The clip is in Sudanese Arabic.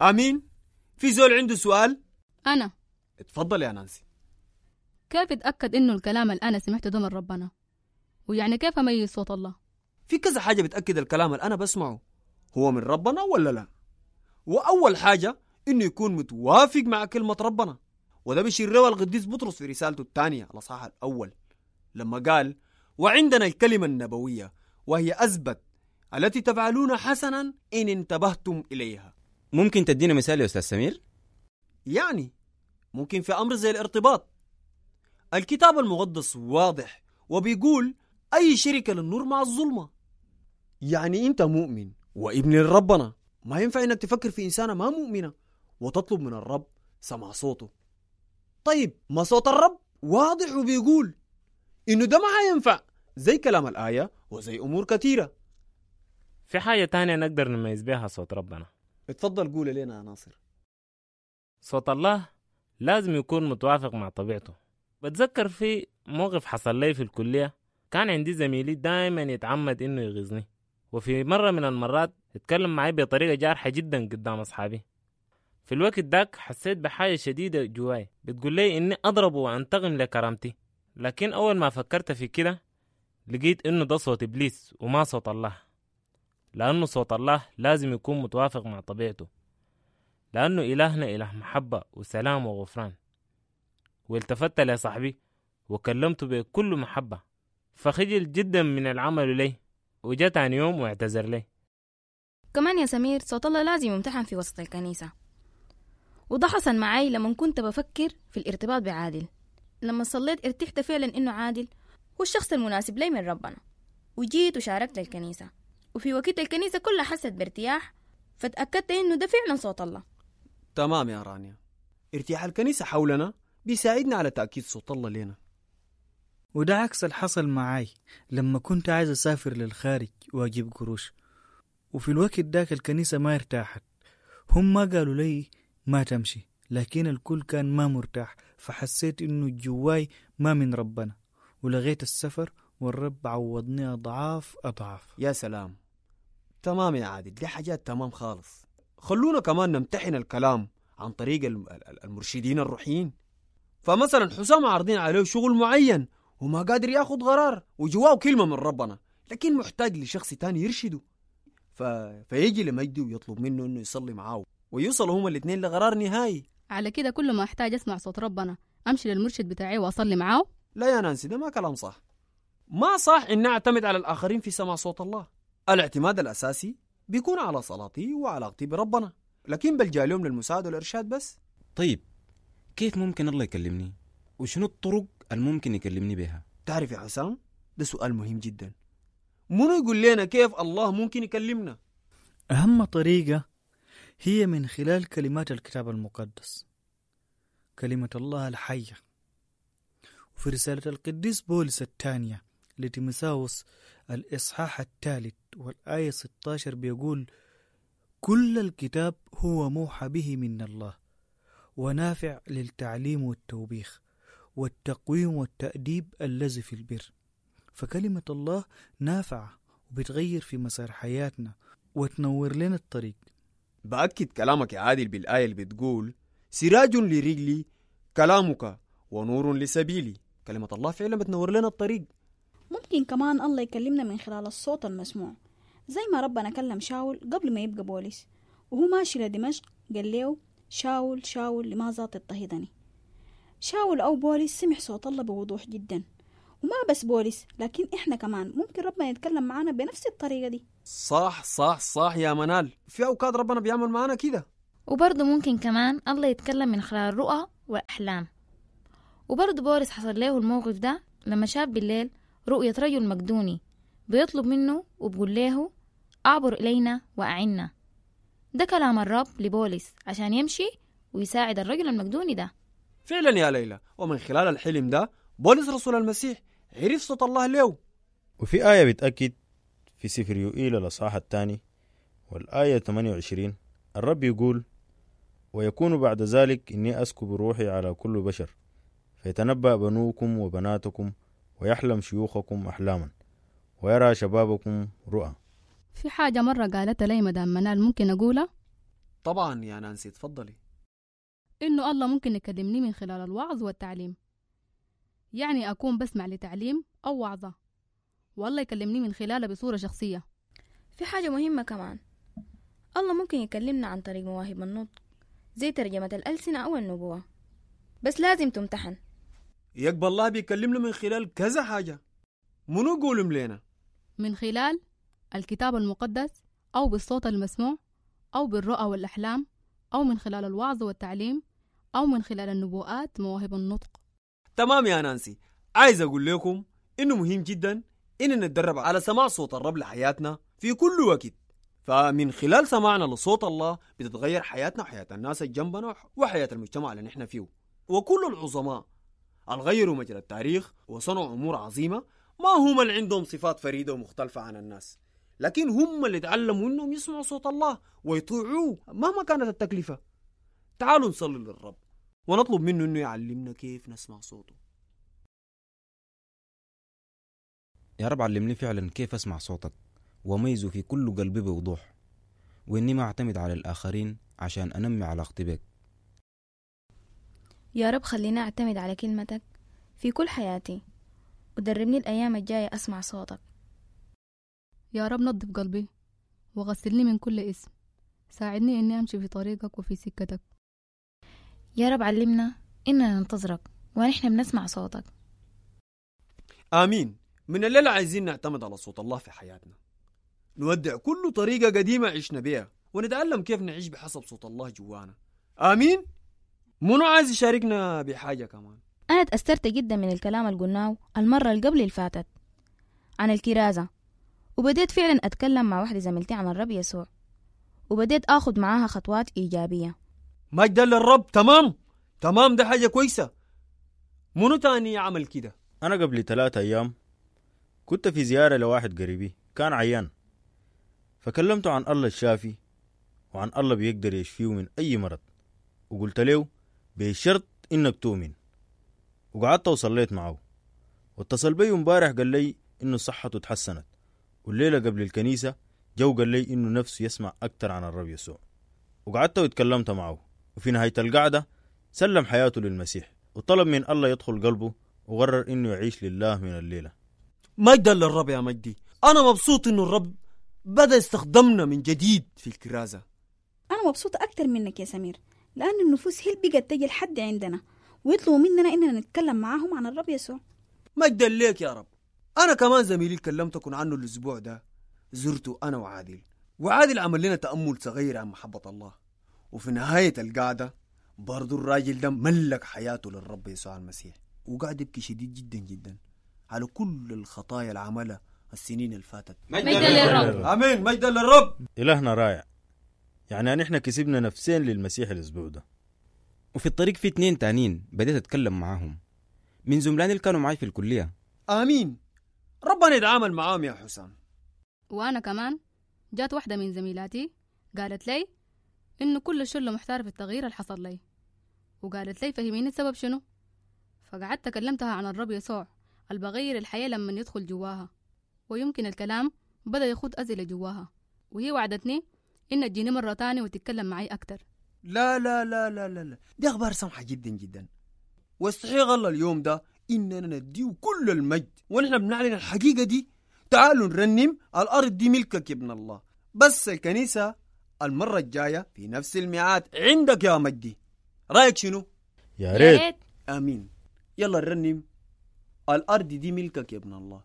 آمين. في زول عنده سؤال؟ أنا. اتفضل يا نانسي. كيف اتأكد إنه الكلام اللي أنا سمعته ده من ربنا؟ ويعني كيف أميز صوت الله؟ في كذا حاجة بتأكد الكلام اللي أنا بسمعه هو من ربنا ولا لا. وأول حاجة إنه يكون متوافق مع كلمة ربنا، وده بيشير له القديس بطرس في رسالته الثانية الأصحاح الأول لما قال: وعندنا الكلمة النبوية وهي أثبت التي تفعلون حسنا إن انتبهتم إليها. ممكن تدينا مثال يا أستاذ سمير؟ يعني ممكن في أمر زي الارتباط. الكتاب المقدس واضح وبيقول أي شركة للنور مع الظلمة. يعني أنت مؤمن وابن ربنا، ما ينفع إنك تفكر في إنسانة ما مؤمنة وتطلب من الرب سمع صوته. طيب ما صوت الرب واضح وبيقول إنه ده ما هينفع، زي كلام الآية وزي أمور كثيرة. في حاجة تانية نقدر نميز بها صوت ربنا. اتفضل قول لنا يا ناصر. صوت الله لازم يكون متوافق مع طبيعته. بتذكر في موقف حصل لي في الكلية، كان عندي زميلي دايما يتعمد إنه يغيظني، وفي مرة من المرات اتكلم معي بطريقة جارحة جدا قدام أصحابي. في الوقت داك حسيت بحاجة شديدة جواي بتقول لي إني أضربه وأنتقم لكرامتي، لكن أول ما فكرت في كده لقيت إنه ده صوت إبليس وما صوت الله، لأنه صوت الله لازم يكون متوافق مع طبيعته، لأنه إلهنا إله محبة وسلام وغفران. والتفت لصاحبي وكلمته بكل محبة، فخجل جدا من العمل لي، وجاء تاني يوم واعتذر لي. كمان يا سمير صوت الله لازم يمتحن في وسط الكنيسة، وده حصل معي لما كنت بفكر في الارتباط بعادل. لما صليت ارتحت فعلا إنه عادل هو الشخص المناسب لي من ربنا، وجيت وشاركت الكنيسة، وفي وقت الكنيسة كلها حست بارتياح، فتأكدت إنه ده فعلا صوت الله. تمام يا رانيا، ارتياح الكنيسة حولنا بيساعدنا على تأكيد صوت الله لنا. وده عكس اللي حصل معاي لما كنت عايز أسافر للخارج وأجيب قروش، وفي الوقت داك الكنيسة ما ارتاحت، هم ما قالوا لي ما تمشي، لكن الكل كان ما مرتاح، فحسيت إنه جواي ما من ربنا، ولغيت السفر، والرب عوضني أضعاف أضعاف. يا سلام. تمام يا عادل، دي حاجات تمام خالص. خلونا كمان نمتحن الكلام عن طريق المرشدين الروحيين. فمثلا حسام عارضين عليه شغل معين وما قادر ياخد قرار، وجواه كلمة من ربنا، لكن محتاج لشخص تاني يرشده، فيجي لمجدي ويطلب منه انه يصلي معاه، ويوصلوا هما الاثنين لقرار نهائي. على كده كل ما احتاج اسمع صوت ربنا امشي للمرشد بتاعي واصلي معاه؟ لا يا نانسي، ده ما كلام صح. ما صح ان اعتمد على الاخرين في سماع صوت الله. الاعتماد الاساسي بيكون على صلاتي وعلاقتي بربنا، لكن بلجأ لهم للمساعدة والإرشاد بس. طيب كيف ممكن الله يكلمني؟ وشنو الطرق الممكن يكلمني بها؟ تعرف يا حسام، ده سؤال مهم جدا. منو يقول لنا كيف الله ممكن يكلمنا؟ أهم طريقة هي من خلال كلمات الكتاب المقدس، كلمة الله الحية. وفي رسالة القديس بولس الثانية لتيموثاوس الإصحاح 3 والآية 16 بيقول: كل الكتاب هو موحى به من الله ونافع للتعليم والتوبيخ والتقويم والتأديب الذي في البر. فكلمة الله نافعة وبتغير في مسار حياتنا وتنور لنا الطريق. بأكد كلامك يا عادل بالآية اللي بتقول: سراج لرجلي كلامك ونور لسبيلي. كلمة الله فعلا بتنور لنا الطريق. ممكن كمان الله يكلمنا من خلال الصوت المسموع، زي ما ربنا كلم شاول قبل ما يبقى بولس وهو ماشي لدمشق، قال له: شاول شاول لماذا تضطهدني؟ شاول أو بولس سمع صوت الله بوضوح جدا. وما بس بولس، لكن إحنا كمان ممكن ربنا يتكلم معانا بنفس الطريقة دي. صح صح صح يا منال، في أوقات ربنا بيعمل معانا كده. وبرضه ممكن كمان الله يتكلم من خلال الرؤى والأحلام. وبرضه بولس حصل له الموقف ده لما شاف بالليل رؤية رجل مقدوني بيطلب منه وبقول له: أعبر إلينا وأعنا. ده كلام الرب لبولس عشان يمشي ويساعد الرجل المقدوني ده. فعلا يا ليلى، ومن خلال الحلم ده بولس رسول المسيح عرف صوت الله له. وفي آية بتأكد في سفر يوئيل الأصحاح 2 والآية 28، الرب يقول: ويكون بعد ذلك إني أسكب روحي على كل بشر، فيتنبأ بنوكم وبناتكم، ويحلم شيوخكم أحلاما، ويرى شبابكم رؤى. في حاجة مرة قالتها لي مدام منال ممكن أقولها؟ طبعا يا نانسي، تفضلي. إنه الله ممكن يكلمني من خلال الوعظ والتعليم، يعني أكون بسمع لتعليم أو وعظة والله يكلمني من خلالها بصورة شخصية. في حاجة مهمة كمان، الله ممكن يكلمنا عن طريق مواهب النطق زي ترجمة الألسنة أو النبوة، بس لازم تمتحن. يقبل الله بيكلمنا من خلال كذا حاجة، منو قولهم لنا؟ من خلال الكتاب المقدس أو بالصوت المسموع أو بالرؤى والأحلام أو من خلال الوعظ والتعليم أو من خلال النبوءات مواهب النطق. تمام يا نانسي، عايز أقول لكم إنه مهم جدا إننا نتدرب على سماع صوت الرب لحياتنا في كل وقت. فمن خلال سماعنا لصوت الله بتتغير حياتنا وحياة الناس اللي جنبنا وحياة المجتمع اللي نحن فيه. وكل العظماء الغيروا مجرى التاريخ وصنعوا أمور عظيمة ما هم اللي عندهم صفات فريدة ومختلفة عن الناس، لكن هم اللي تعلموا إنهم يسمعوا صوت الله ويطيعوه مهما كانت التكلفة. تعالوا نصلي للرب ونطلب منه إنه يعلمنا كيف نسمع صوته. يا رب علمني فعلا كيف أسمع صوتك وأميزه في كل قلبي بوضوح، وإني ما أعتمد على الآخرين عشان أنمي علاقتي بك. يا رب خليني أعتمد على كلمتك في كل حياتي، ودربني الأيام الجاية أسمع صوتك. يا رب نظف قلبي وغسلني من كل اسم، ساعدني إني أمشي في طريقك وفي سكتك. يا رب علمنا إننا ننتظرك ونحن بنسمع صوتك. آمين. من الليلة عايزين نعتمد على صوت الله في حياتنا، نودع كل طريقة قديمة عشنا بيها ونتعلم كيف نعيش بحسب صوت الله جوانا. آمين. منو عايز يشاركنا بحاجة كمان؟ أنا تأثرت جدا من الكلام اللي قلناه المرة اللي قبل الفاتت عن الكرازة، وبديت فعلا أتكلم مع واحدة زميلتي عن الرب يسوع، وبديت أخذ معاها خطوات إيجابية. مجدا للرب. تمام تمام، ده حاجة كويسة. منو تاني عمل كده؟ أنا قبل 3 أيام كنت في زيارة لواحد قريبي كان عيان، فكلمته عن الله الشافي وعن الله بيقدر يشفيه من أي مرض، وقلت له بشرط إنك تؤمن، وقعدت وصليت معه. واتصل بي امبارح قال لي إنه صحته تحسنت، والليلة قبل الكنيسة جو قال لي إنه نفسه يسمع أكتر عن الرب يسوع، وقعدت واتكلمت معه. وفي نهاية القعدة سلم حياته للمسيح وطلب من الله يدخل قلبه، وقرر إنه يعيش لله من الليلة. مجدا للرب يا مجدي. أنا مبسوط إنه الرب بدأ يستخدمنا من جديد في الكرازة. أنا مبسوطة أكتر منك يا سمير، لأن النفوس هي اللي بقت تجي لحد عندنا ويطلبوا مننا إننا نتكلم معاهم عن الرب يسوع. مجدا ليك يا رب. أنا كمان زميلي كلمتكم عنه الأسبوع ده، زرته أنا وعادل، وعادل عمل لنا تأمل صغير عن محبة الله، وفي نهاية القعدة برضو الراجل ده ملك حياته للرب يسوع المسيح، وقعد يبكي شديد جدا جدا على كل الخطايا اللي عملها السنين اللي فاتت. مجدا للرب. آمين، مجدا للرب. إلهنا رائع، يعني نحن كسبنا نفسين للمسيح الأسبوع ده. وفي الطريق في 2 تانيين بديت أتكلم معاهم من زملاني اللي كانوا معي في الكلية. آمين، ربنا يتعامل معاهم يا حسام. وأنا كمان جات واحدة من زميلاتي قالت لي إنه كل الشلة محتارة في التغيير اللي حصل لي، وقالت لي فهميني السبب شنو. فقعدت كلمتها عن الرب يسوع اللي بغير الحياة لما يدخل جواها، ويمكن الكلام بدأ يخوض أزلة جواها، وهي وعدتني إن تجيني مرة تانية وتتكلم معي أكتر. لا لا لا لا لا لا، دي أخبار سمحة جدا جدا، واستحق الله اليوم ده إننا نديه كل المجد ونحن بنعلن الحقيقة دي. تعالوا نرنم الأرض دي ملكك يا ابن الله. بس الكنيسة المرة الجاية في نفس الميعاد عندك يا مجدي. رأيك شنو؟ يا ريت. آمين. يلا نرنم الأرض دي ملكك يا ابن الله.